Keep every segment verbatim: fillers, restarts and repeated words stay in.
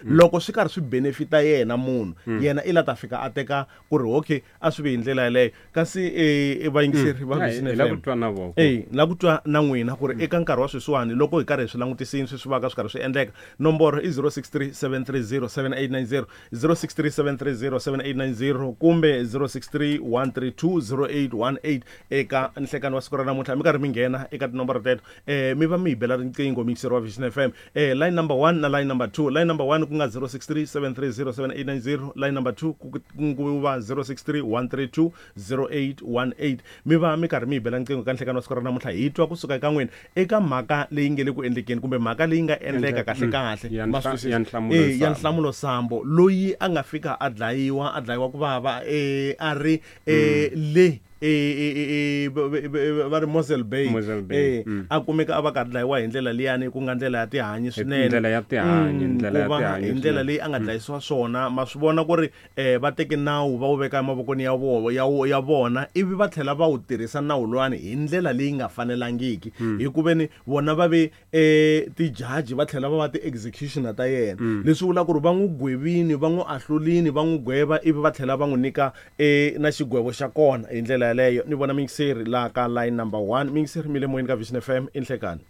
Loko swi karhi swi benefita yena munhu, yena i la ta fika a teka ku ri okay, a swi vi hi ndlela yaleyo. Kasi eh, vayingiseri va Hi Vision la ku F M, twa na voko. Eh, la ku twa na n'wina ku ri eka nkarhi wa sweswiwani, loko hi karhi hi swi langutisini sweswi va ka swi karhi swi endleka, nomboro i zero six three seven three zero seven eight nine zero, zero six three seven three zero seven eight nine zero kumbe zero six three one three two zero eight one eight. Eka nhlekani wa siku ra namuntlha mi karhi mi nghena eka tinomboro teto, eh mi va mi hi bela riqingho, mixer wa Vision F M. eh line number one na line number two. Line number one ku nga zero six three seven three zero seven eight nine zero, line number two ku ku va zero six three one three two zero eight one eight. Mi va mi karhi mi hi bela riqingho ka nhlekani wa siku ra namuntlha, hi twa kusuka eka n'wina eka mhaka leyi nge le ku endlekeni kumbe mhaka leyi nga endleka kahle kahle. Ya Ma nhla- swi twisisa? Ya Nhlamulo Eh, ya Sambo. Nhlamulo Sambo, loyi a nga fika a dlayiwa, a dlayiwa ku vava, eh a ri eh le eh, eh, eh, va ri Mossel Bay. Mossel Bay, eh mm. A kumeka a va ka dlayiwa hi ndlela liyani, ku nga ndlela ya tihanyi swinene. Ndlela ya tihanyi, Mm, ndlela ya ku va tihanyi hi ndlela swinene. leyi a nga dlayisiwa swona. Ma swi vona ku ri eh va teke nawu va wu veka emavokweni ya vo ya wo- ya vona, ivi va tlhela va wu tirhisa nawu luwani hi ndlela leyi nga fanelangiki, hi ku veni vona va ve eh tijaji, va tlhela va va ti-executioner ta yena. Leswi vula ku ri va n'wi gwevini, va n'wi ahlulini, va n'wi gweva, ivi va tlhela va n'wi nyika eh na xigwevo xa kona hi ndlela yaleyo. Ni vona mixeri laha ka line number one. Mixeri, mi le moyeni ka Vision F M, i nhlekani.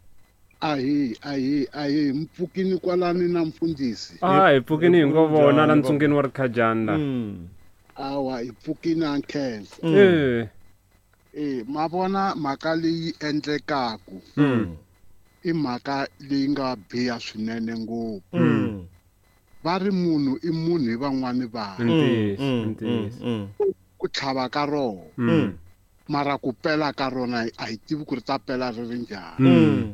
Ahi, ahi, ahi, mpfukini kwalani na mfundhisi. A hi pfukini hi ngo vona la Njhani, ntsungeni wa rikhajani la. Mm. Awa, hi pfukini, a nkhensa. Eh. Eh, ma vona mhaka leyi endlekaku Mm. i mhaka leyi nga biha swinene ngopfu. Mm. Va ri munhu i munhu hi van'wani vanhu. Ntiyiso, Mm, ntiyiso. mm, Ku tlhava ka rona, Mm. mara ku pela ka rona a hi tivi ku ri ta pela ri ri njhani. Mm.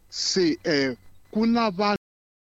Se eh ku na vanhu